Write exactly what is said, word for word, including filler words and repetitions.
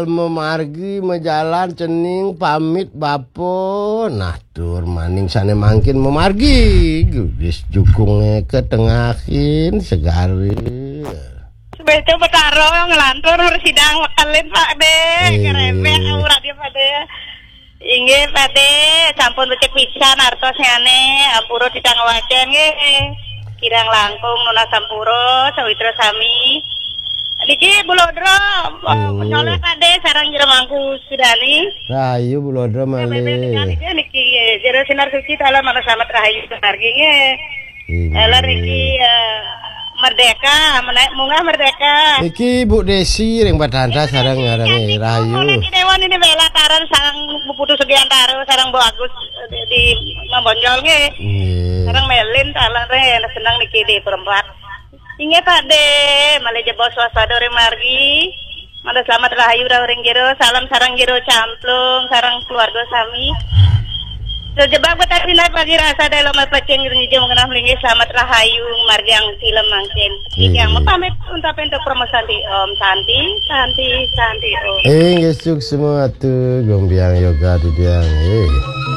Memargi majalan cening pamit bapa. Nah, tur maning sane mangkin memargi. Gugis jukunge ketengahin segare. Sebeca Betara ngelantur sidang wekelin, Pak De. Ngerebek aura dia, Pak De. Inggih, Pak De, sampun becik pisan artosnyane, ampura titang wacen nggih. Kirang langkung nunas sampura, sawitra sami. Niki Bulodra, menyoleh, Pak De, sareng Jero Mangku Sudani. Rahayu Bulodra malih. Niki nggih, Jero Sinar Suci, dalam mana selamat rahayu margi nggih. Dalam niki, eh, Merdeka, menaik munggah Merdeka. Niki Bu Desi ring Batanta sareng ngarange Rahayu. Niki Dewan ini bela taran sareng Bu Putu Sugiantara, sareng Bu Agus, eh, di Mambonjol nggih. Nggih. Sareng Melin talan re, seneng niki di perempat. Inggih, Pak De, malih jebos waspada ring margi. Mangda selamat rahayu rauh ring Jero, salam sareng Jero Camplung, sareng keluarga sami. Jebak betah pindah pagi rasa dalam pacing ring jum kenah melinggih selamat rahayu margiang film mangkin. Yang mapamit untuk pintu promo Santi Om, Santi, Santi, Santi Om. Inggih, suksma atu, gombiang yoga didiang. Eh.